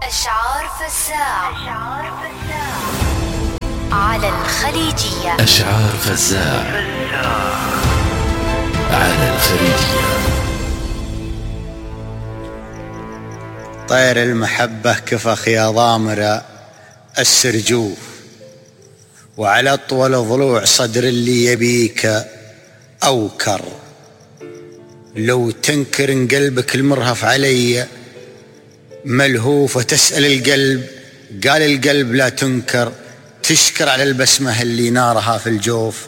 أشعار فزاع على الخليجية. أشعار فزاع على الخليجية. طير المحبة كفخ يا ضامر السرجوف، وعلى أطول ضلوع صدر اللي يبيك أوكر. لو تنكر إن قلبك المرهف علي ملهوف، وتسأل القلب قال القلب لا تنكر. تشكر على البسمة اللي نارها في الجوف،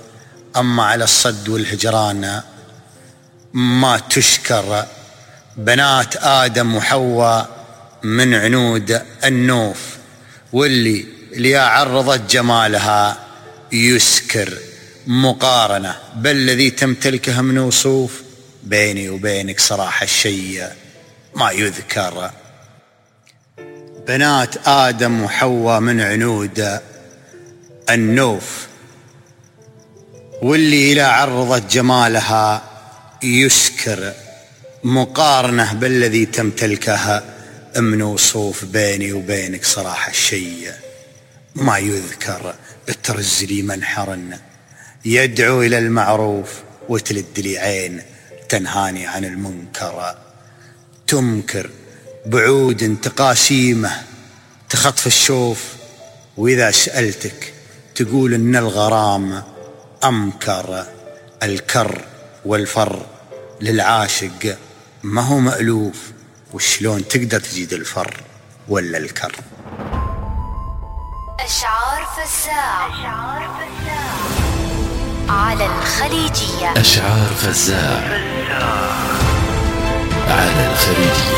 أما على الصد والهجران ما تشكر. بنات آدم وحواء من عنود النوف، واللي عرضت جمالها يسكر. مقارنة بالذي تمتلكها من وصوف، بيني وبينك صراحة الشيء ما يذكر. بنات آدم وحواء من عنود النوف، واللي إذا عرضت جمالها يسكر. مقارنة بالذي تمتلكها من وصوف، بيني وبينك صراحة الشيء ما يذكر. ترز لي منحر يدعو إلى المعروف، وتلد لي عين تنهاني عن المنكر. تمكر بعود تقاسيمه تخطف الشوف، وإذا سألتك تقول إن الغرام أمكر. الكر والفر للعاشق ما هو مألوف، وشلون تقدر تجيد الفر ولا الكر. أشعار فزاع على الخليجية. أشعار فزاع على الخليجية.